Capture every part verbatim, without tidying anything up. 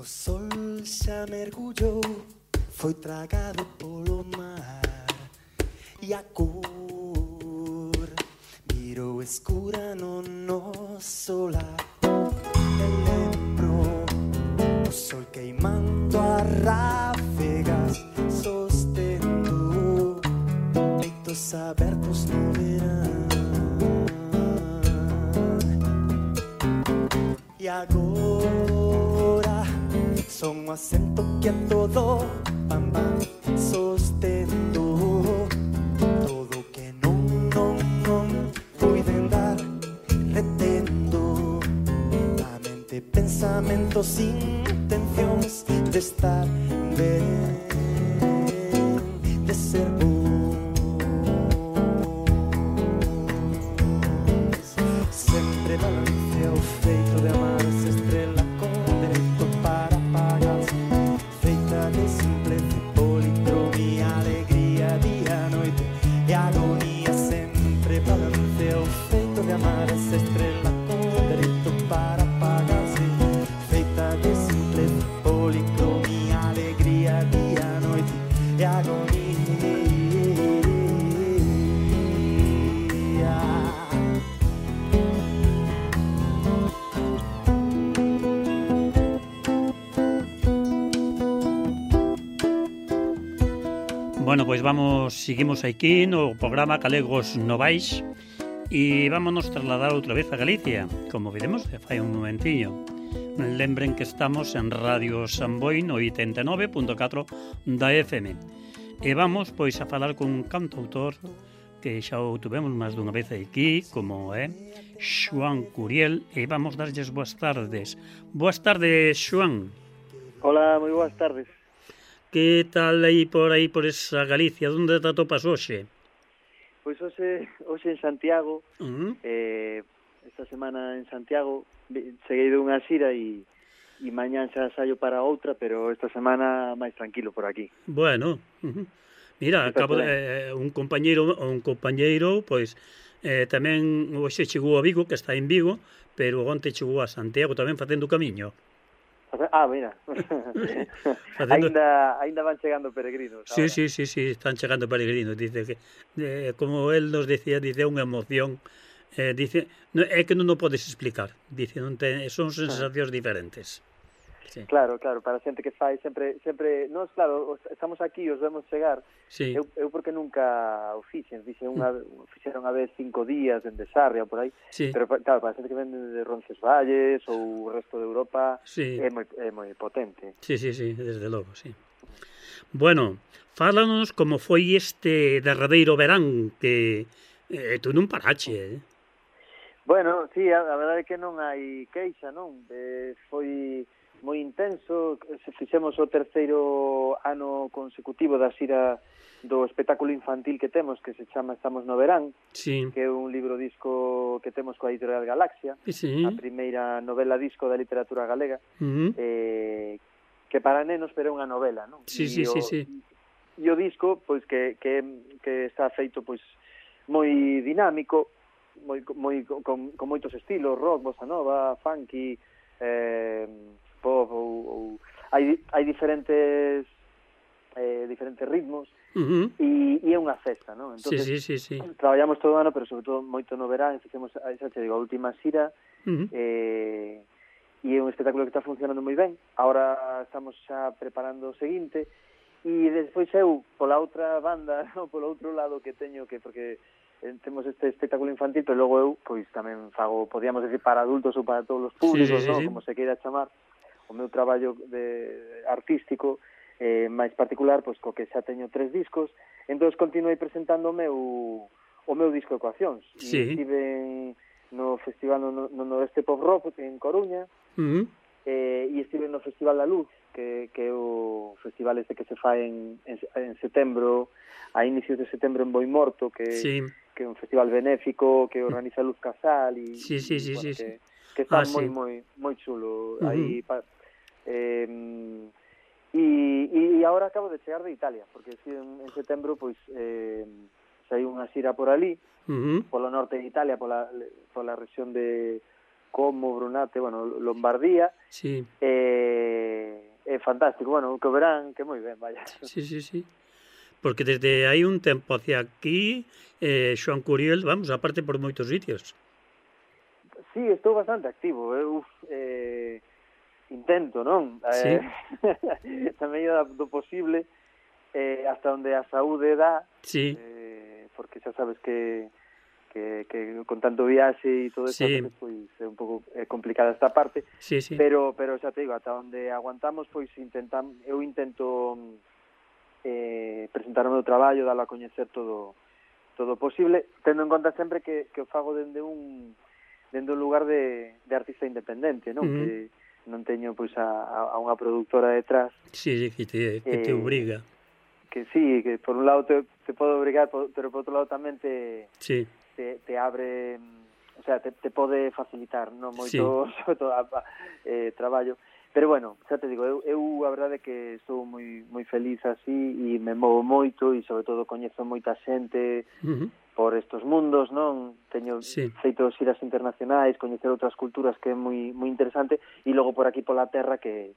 O sol xa mergullou, foi tragado polo mar, e a cor virou escura no noso lar. E lembro o sol queimando as ráfegas, sostendo peitos abertos no verão. E agora son un acento que a todo pam pam, sostendo todo que non, non, non puiden dar, retendo na mente pensamentos, intencións de estar ben, de ser bons. Sempre balancea o feito de amar esa estrela con dereito para apagarse, feita de simpleza, policromía, alegría, día, noite e agonía. Sempre balancea o feito de amar esa estrela con dereito para apagarse, feita de simpleza, policromía, alegría, día, noite e agonía. Bueno, pois vamos, seguimos aquí no programa Galegos Novais e vámonos trasladar outra vez a Galicia, como viremos fai un momentiño. Lembren que estamos en Radio Samboy no oitenta e nove punto catro da F M. E vamos, pois, a falar con un cantautor que xa o tuvemos máis dunha vez aquí, como é Xoán Curiel, e vamos darlles boas tardes. Boas tardes, Xoán. Hola, moi boas tardes. Que tal aí por aí por esa Galicia? Onde te atopas hoxe? Pois hoxe, hoxe en Santiago, Uh-huh. eh, esta semana en Santiago, cheguei de unha xira e, e mañán xa saio para outra, pero esta semana máis tranquilo por aquí. Bueno, uh-huh. Mira, acabo de, eh, un compañeiro, un compañeiro, pois eh, tamén hoxe chegou a Vigo, que está en Vigo, pero onte chegou a Santiago tamén facendo o camiño. Ah, mira. Facendo... Ainda, ainda van chegando peregrinos. Sí, sí, sí, sí, están chegando peregrinos. Dice que, eh, como él nos decía, dice unha emoción. Eh, dice, no, é que non o podes explicar. Dice, non te, son sensacións diferentes. Sí. Claro, claro, para a xente que fai sempre, sempre, nós, claro, estamos aquí, os vemos chegar. Sí. Eu, eu porque nunca o fixen, fixen unha, mm. fixeron a vez cinco días en Sarria por aí, sí. Pero claro, para a xente que vende de Roncesvalles ou o resto de Europa, sí. é moi é moi potente. Sí, sí, sí, desde logo, sí. Bueno, fálanos como foi este derradeiro verán que eh, tú non parache, eh? Bueno, sí, a, a verdade é que non hai queixa, non? Eh, foi moi intenso, se fixemos o terceiro ano consecutivo da xira do espectáculo infantil que temos, que se chama Estamos no Verán, sí. que é un libro disco que temos coa editorial Galaxia, sí. a primeira novela disco da literatura galega, uh-huh. eh, que para nenos pero é unha novela, non? Sí, sí, o, sí, sí. E o disco, pois, que, que, que está feito, pois, moi dinámico, moi, moi, con, con moitos estilos, rock, bossa nova, funky, eh, pop, ou, ou hai, hai diferentes eh, diferentes ritmos, uh-huh. e, e é unha festa, non? Entonces, sí, sí, sí, sí. Traballamos todo o ano, pero sobre todo moito no verán, fixemos, xa te digo, a última xira, uh-huh. eh, e é un espectáculo que está funcionando moi ben. Ahora estamos xa preparando o seguinte, e despois eu, pola outra banda, no, polo outro lado que teño, que porque temos este espectáculo infantil, pero logo eu, pois tamén fago, podíamos decir, para adultos ou para todos os públicos, sí, sí, sí, no? Sí. Como se queira chamar, o meu traballo de artístico eh, máis particular, pois co que xa teño tres discos, entón continuei presentando o meu o meu disco Ecuacións, sí. E estive no festival no, no Noroeste Pop Rock en Coruña, uh-huh. eh, e estive no Festival da Luz, que, que é o festival este que se fai en, en, en setembro, a inicios de setembro en Boimorto, que sí. que é un festival benéfico que organiza Luz Casal e, sí, sí, sí, bueno, sí, que, sí. que está ah, moi sí. moi moi chulo. Uh-huh. Aí pa, eh, e, e agora acabo de chegar de Italia, porque si en, en setembro pois eh, saí unha xira por ali, uh-huh. polo norte de Italia, pola pola rexión de Como, Brunate, bueno, Lombardía. Sí. Eh, é fantástico, bueno, que o verán, que moi ben, vaya. Sí, sí, sí. Porque desde hai un tempo hacia aquí, eh, Xoán Curiel, vamos, aparte por moitos sitios. Sí, estou bastante activo, eu eh, intento, non? Sí. Eh, tamén do posible, eh, hasta onde a saúde dá, sí. eh, porque xa sabes que Que, que con tanto viaxe e todo eso, sí. veces, pois, é un pouco é complicada esta parte, sí, sí. pero pero xa te digo, ata onde aguantamos, pois intentam, eu intento eh, presentar o meu traballo, dalo a coñecer todo todo posible, tendo en conta sempre que, que o fago dende un dende un lugar de, de artista independente, non? Uh-huh. Que non teño pois a, a unha productora detrás. Sí, sí, que te, que te eh, obriga. Que sí, que por un lado te, te pode obrigar, pero por outro lado tamén te... Sí. Te, te abre, o sea, te, te pode facilitar, non moito, sí. sobre todo, a, a, eh, traballo. Pero bueno, xa te digo, eu, eu a verdade é que estou moi moi feliz así e me movo moito e sobre todo coñezo moita xente uh-huh. por estos mundos, non? Teño sí. feito xiras internacionais, coñecer outras culturas que é moi moi interesante e logo por aquí pola terra que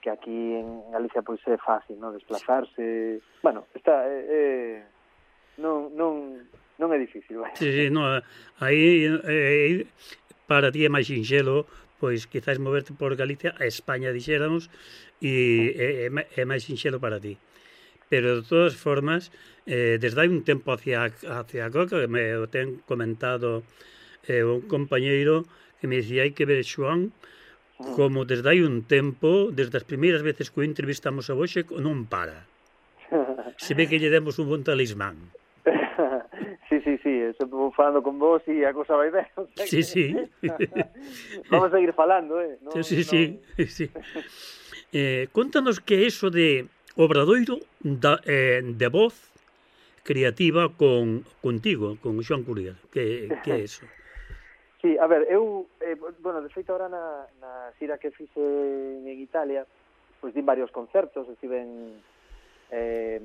que aquí en Galicia pois é fácil, non? Desplazarse. Bueno, está eh, eh, non non non é difícil, vai. Sí, sí, no, aí eh, para ti é máis sinxelo, pois quizás moverte por Galicia a España, dixéramos, e é, é máis sinxelo para ti. Pero de todas formas, eh, desde hai un tempo hacia hacia acá, que me o ten comentado eh, un compañeiro que me dicía, hai que ver Xoán, como desde hai un tempo, desde as primeiras veces que o entrevistamos a Boxe, non para. Se ve que lle demos un bon talismán. Sí, sí, sí, estou falando con vos e a cosa vai ben. O sea sí, que... sí. Vamos a seguir falando, eh? No, sí, sí, no... sí. sí. Eh, contanos que é eso de obradoiro da, eh, de voz creativa con contigo, con Xoán Curiel. Que, que é eso? Sí, a ver, eu, eh, bueno, de feito ahora na, na xira que fixe en Italia, pois din varios concertos, estiven eh,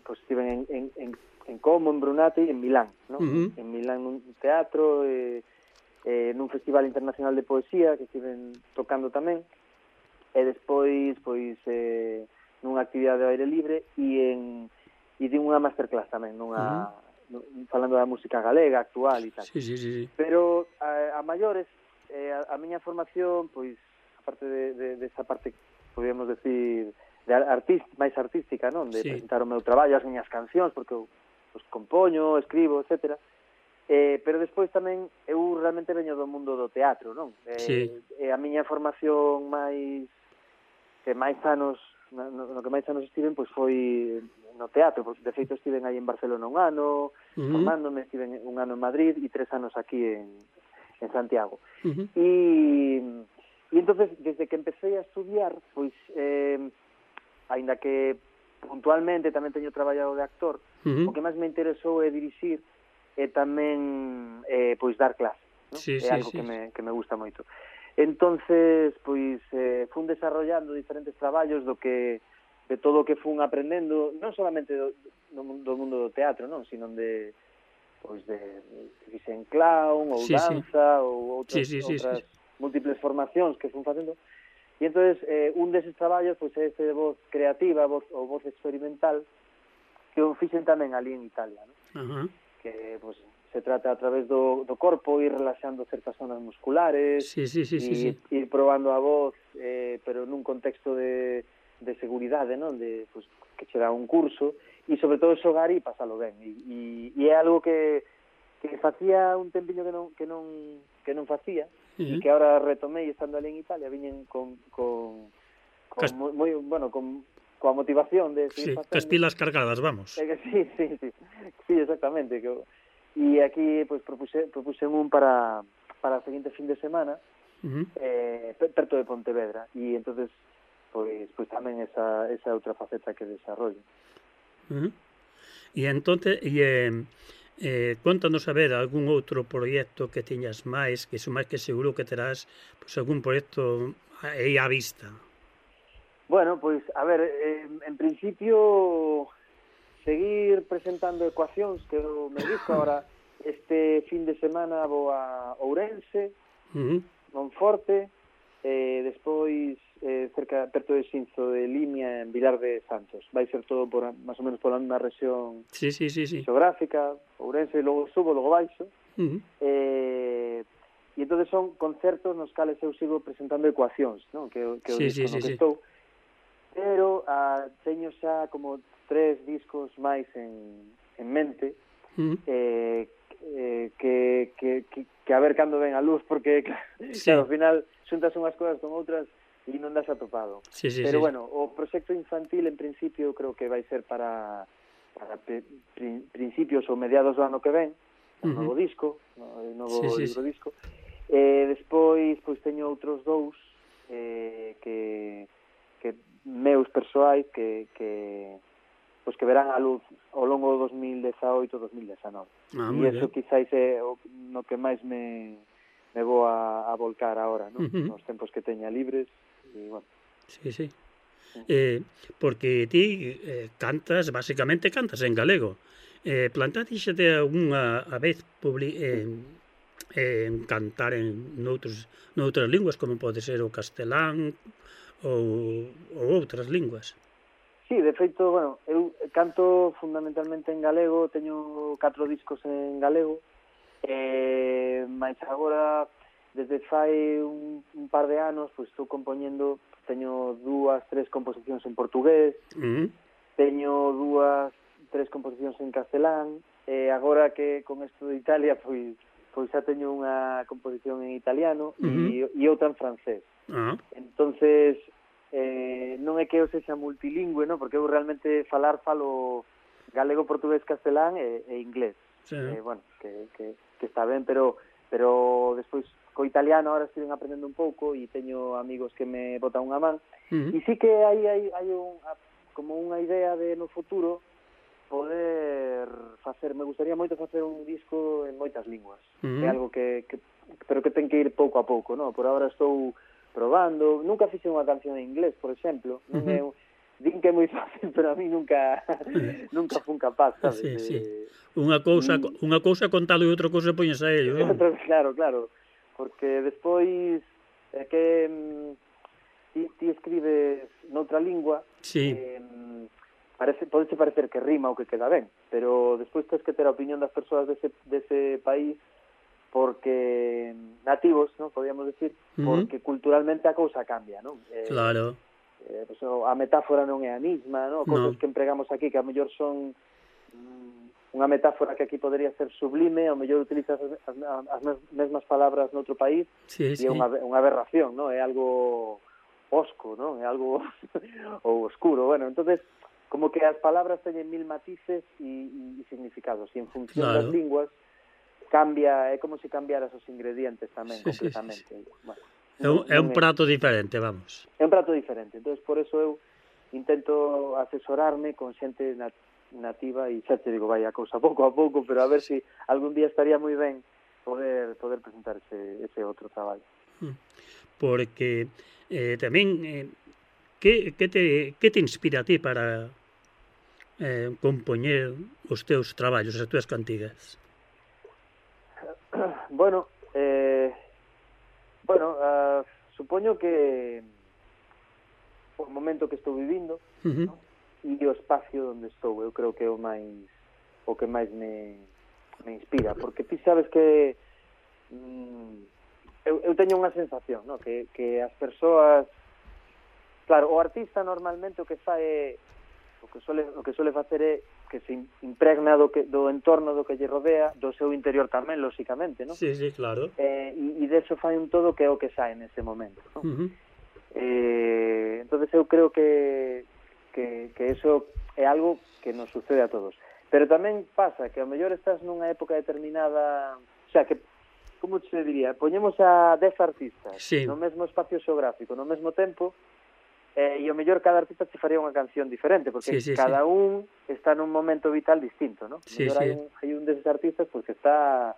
pois estiven en, en, en en Como, en Brunate e en Milán, ¿no? Uh-huh. En Milán nun teatro, eh, eh, nun festival internacional de poesía que estiven tocando tamén, e despois, pois, eh, nunha actividade ao aire libre e en e din unha masterclass tamén, nunha, uh-huh. falando da música galega, actual e tal. Sí, sí, sí, sí. Pero a, a maiores, eh, a, a miña formación, pois, aparte de, de, de esa parte, podríamos decir, de artist, máis artística, non? De sí. Presentar o meu traballo, as miñas cancións, porque eu pues, compoño, escribo, etcétera. Eh, pero despois tamén eu realmente veño do mundo do teatro, non? Eh, sí. eh, a miña formación máis que máis anos no, no que máis anos estiven pois foi no teatro, porque de feito estiven aí en Barcelona un ano, uh-huh. formándome, estiven un ano en Madrid e tres anos aquí en, en Santiago. Uh-huh. E, e entonces, desde que empecé a estudiar, pois eh, aínda que puntualmente tamén teño traballado de actor, uh-huh. o que máis me interesou é dirixir e tamén eh, pois dar clase, ¿no? Sí, é sí, algo sí. que me, que me gusta moito. Entonces, pois eh, fun desarrollando diferentes traballos do que de todo o que fun aprendendo, non solamente do, do mundo do teatro, non, sino de pois de fixe en clown ou sí, danza sí. ou outras, sí, sí, outras sí, sí. múltiples formacións que fun facendo. E entonces eh, un deses traballos pois é este de voz creativa, voz ou voz experimental que o fixen tamén ali en Italia, ¿no? Uh-huh. Que pois se trata a través do, do corpo ir relaxando certas zonas musculares, sí, sí, sí, e sí, sí. ir probando a voz, eh, pero nun contexto de, de seguridade, non? De pois que che dá un curso e sobre todo xogar e pasalo ben. E, e, e é algo que que facía un tempiño que non que non que non facía. Uh-huh. E que ahora retomei estando ali en Italia, viñen con, con, con Cas... moi, moi, bueno, con, coa motivación de seguir sí, facendo. Cas pilas cargadas, vamos. É que sí, sí, sí, sí, exactamente. Que, e aquí, pois, propuse, propuse un para, para o seguinte fin de semana, uh-huh. eh, perto de Pontevedra, e entonces, pois, pois tamén esa, esa outra faceta que desarrollo. Uh-huh. E entonces, e... Eh... Eh, contanos a ver algún outro proxecto que teñas máis, que son máis que seguro que terás pois, algún proxecto aí á vista. Bueno, pois, a ver, eh, en principio seguir presentando ecuacións que eu me disco agora este fin de semana vou a Ourense, uh-huh. Monforte, e despois eh, cerca, perto de Xinzo de Limia, en Vilar de Santos. Vai ser todo por, máis ou menos pola mesma rexión sí, sí, sí, sí. xeográfica, Ourense, logo subo, logo baixo. Uh -huh. Eh, e entón son concertos nos cales eu sigo presentando ecuacións, non? Que, que sí, o disco sí, no sí, que sí. estou. Pero ah, teño xa como tres discos máis en, en mente, uh -huh. eh, eh, que, que, que, que a ver cando ven a luz, porque sí. Claro, ao final xuntas unhas cousas con outras e non das atopado. Sí, sí, pero sí. bueno, o proxecto infantil en principio creo que vai ser para, para pri, principios ou mediados do ano que ven, un uh -huh. novo disco, un novo sí, sí, libro sí. disco. Eh, despois pois teño outros dous eh, que, que meus persoais que, que pois que verán a luz ao longo do dos mil dezaoito dos mil dezanove. Ah, e iso quizáis é o, no que máis me, me vou a, a volcar agora, ¿no? Uh -huh. Nos tempos que teña libres e, bueno. Sí, sí. Eh, porque ti eh, cantas, basicamente cantas en galego. Eh, plantatíxete algunha a vez publi eh, en cantar en noutros, noutras linguas, como pode ser o castelán ou, ou outras linguas? Sí, de feito, bueno, eu canto fundamentalmente en galego, teño catro discos en galego, eh, máis agora, desde fai un, un par de anos, pois estou compoñendo, teño dúas, tres composicións en portugués, uh -huh. teño dúas, tres composicións en castelán, e agora que con isto de Italia, pois pois xa teño unha composición en italiano uh -huh. e, e outra en francés. Uh -huh. Entonces, eh, non é que eu sexa multilingüe, no? Porque eu realmente falar falo galego, portugués, castelán e, e inglés. Sí. Eh, bueno, que, que, que está ben, pero pero despois co italiano ahora estive aprendendo un pouco e teño amigos que me botan unha man. Uh -huh. E sí que hai, hai, hai un, como unha idea de no futuro poder facer, me gustaría moito facer un disco en moitas linguas. Uh -huh. É algo que, que pero que ten que ir pouco a pouco, no? Por agora estou probando, nunca fixe unha canción en inglés, por exemplo, non uh -huh. é, din que é moi fácil, pero a mí nunca nunca fun capaz, sabes? Sí, sí. Unha cousa, y... unha cousa contalo e outra cousa poñes a ello, non? Claro, claro, porque despois é que mm, ti, ti escribes noutra lingua, sí. eh, parece, pode parecer que rima ou que queda ben, pero despois tens que ter a opinión das persoas dese, dese país, porque nativos, ¿no? Podríamos decir, uh -huh. porque culturalmente a cousa cambia, ¿no? Eh, claro. Eh, pues, a metáfora non é a mesma, ¿no? Cousas no. que empregamos aquí que a mellor son mm, unha metáfora que aquí podría ser sublime, a mellor utilizas as, as, as mesmas palabras noutro país, sí, e sí. é unha, unha aberración, ¿no? É algo osco, ¿no? É algo ou oscuro, bueno, entonces como que as palabras teñen mil matices e, e significados, e en función claro. das linguas cambia, é como se cambiaras os ingredientes tamén, sí, completamente. Sí, sí, sí. Bueno, é, un, é un prato é... diferente, vamos. É un prato diferente, entonces por eso eu intento asesorarme con xente nat nativa e xa te digo, vai a cousa pouco a pouco, pero a ver se si algún día estaría moi ben poder poder presentar ese, ese outro traballo. Porque eh, tamén eh, que, que, te, que te inspira a ti para eh, compoñer os teus traballos, as túas cantigas? Bueno, eh, bueno, uh, supoño que o momento que estou vivindo, uh -huh. ¿no? E o espacio onde estou, eu creo que é o máis o que máis me, me inspira, porque ti sabes que mm, eu, eu teño unha sensación, ¿no? que, que as persoas, claro, o artista normalmente o que fai é o que suele, o que suele facer é que se impregna do, que, do entorno do que lle rodea, do seu interior tamén, lóxicamente, ¿no? Sí, sí, claro. Eh, e, e deso fai un todo que é o que sae nese momento, ¿no? Uh -huh. eh, entonces eu creo que, que, que eso é algo que nos sucede a todos. Pero tamén pasa que ao mellor estás nunha época determinada, o sea, que, como se diría, poñemos a dez artistas sí. no mesmo espacio xeográfico, no mesmo tempo, Eh, e o mellor cada artista te faría unha canción diferente, porque sí, sí, cada sí. un está nun momento vital distinto, ¿no? Sí, sí. hai un, hai un deses artistas pues, que está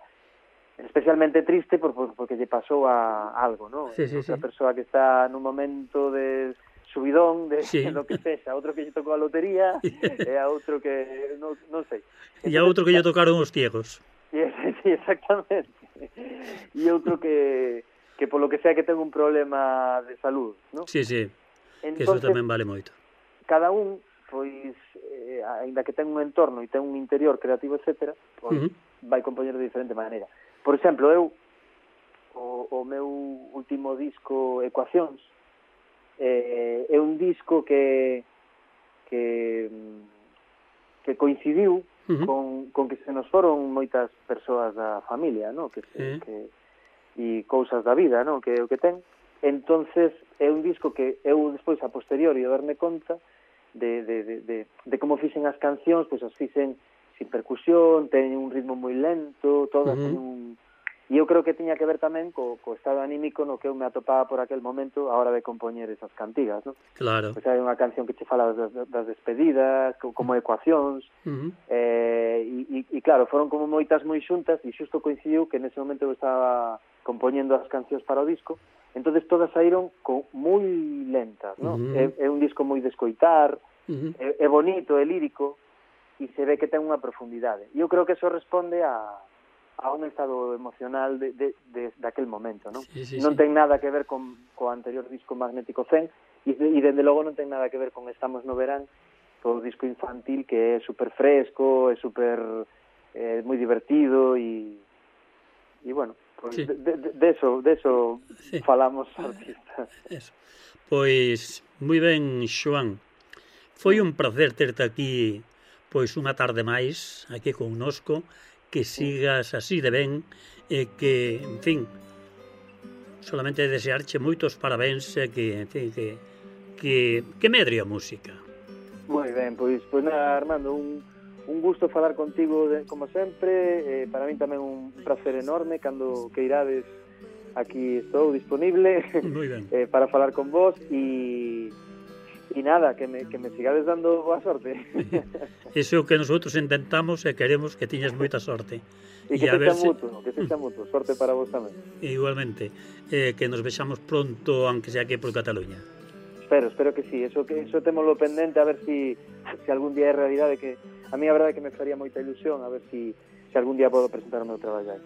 especialmente triste por, por, porque lle pasou a algo, ¿no? Sí, sí, outra sí. persoa que está nun momento de subidón, de sí. lo que sexa, outro que lle tocou a lotería, e a outro que, non, non sei. E a outro que lle tocaron os ciegos. Sí, sí, exactamente. E outro que... que polo que sea que ten un problema de salud, non? Sí, sí, que Entonces, eso tamén vale moito. cada un, pois, eh, ainda que ten un entorno e ten un interior creativo, etcétera, pois, Uh-huh. vai compoñer de diferente maneira. Por exemplo, eu, o, o meu último disco, Ecuacións, eh, é un disco que que que coincidiu Uh-huh. con, con que se nos foron moitas persoas da familia, no? Que, se, Eh. que e cousas da vida, no? Que é o que ten. Entonces é un disco que eu despois a posteriori a darme conta de, de, de, de, de como fixen as cancións, pois as fixen sin percusión, teñen un ritmo moi lento, todas Uh-huh. teñen un... E eu creo que tiña que ver tamén co, co estado anímico no que eu me atopaba por aquel momento a hora de compoñer esas cantigas, no? Claro. Pois hai unha canción que che fala das, das despedidas, co- como Ecuacións, Uh-huh. eh, e, e, e claro, foron como moitas moi xuntas e xusto coincidiu que nese momento eu estaba compoñendo as cancións para o disco, entonces todas saíron co, moi lentas, no? Uh-huh. É, é un disco moi de escoitar, Uh-huh. é, é bonito, é lírico e se ve que ten unha profundidade. E eu creo que eso responde a a un estado emocional de, de, de, daquel momento, non? Sí, sí, non sí. ten nada que ver con co anterior disco Magnético cen e, e dende logo non ten nada que ver con Estamos no verán, o disco infantil que é super fresco, é super eh, moi divertido e e bueno, pues Sí. de, de, de eso, de eso Sí. falamos artistas. Eso. Pois, moi ben, Xoán. Foi un placer terte aquí, pois, unha tarde máis, aquí connosco, que sigas así de ben, e que, en fin, solamente desearche moitos parabéns, e que, en fin, que, que, que medre a música. Moi ben, pois, pois nada, Armando, un, un gusto falar contigo de, como sempre, eh, para min tamén un placer enorme, cando que irades aquí estou disponible Moi ben. eh, para falar con vos e e nada, que me, que me sigades dando boa sorte. Iso é o que nosotros intentamos e queremos que tiñas moita sorte. E que a se ver xa se- mutuo, que se xa mutuo. Sorte para vos tamén. Igualmente, eh, que nos vexamos pronto, aunque sea aquí por Cataluña. Espero, espero que sí. Eso que eso témolo pendente a ver si si algún día é realidade, que a mí a verdade é que me faría moita ilusión a ver si si algún día podo presentar o meu traballo aí.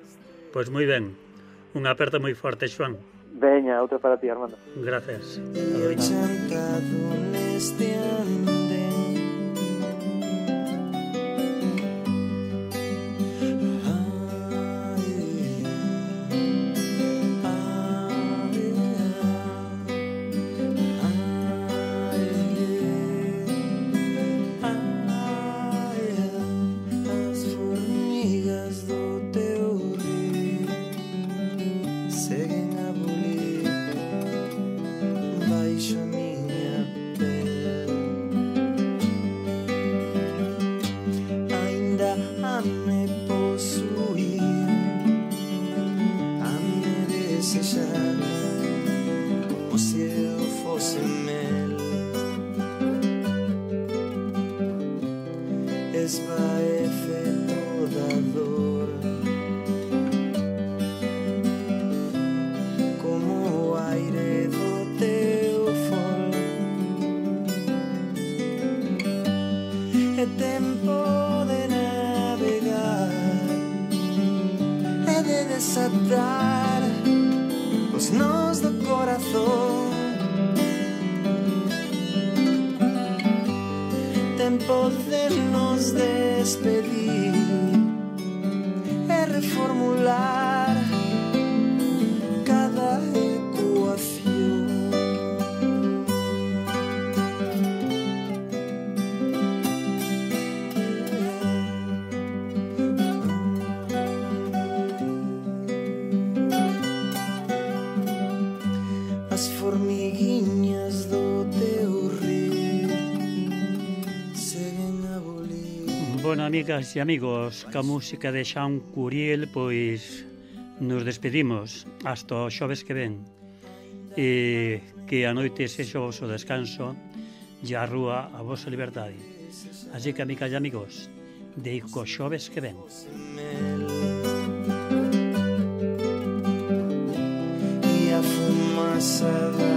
Pois moi ben, unha aperta moi forte, Xoán. Veña, outra para ti, Armando. Gracias. Io ho cantato neste andén. As formigas do teu rio seguen a bulir baixo a miña pel. Ainda a me posuir, a me desexar, como se eu fose mel. Esvaece toda a dor, como o aire do teu fol. É tempo de navegar, é de desatar os nós do corazón. Tempo de nos despedir, é reformular cada ecuación. As formiguinhas do teu río seguen a bulir. Bueno, amigas e amigos, ca música de Xan Curiel, pois nos despedimos hasta o xoves que ven. E que a noite sexa o vosso descanso e a rúa a vosa liberdade. Así que, amigas e amigos, deico xoves que ven. E a fumaça da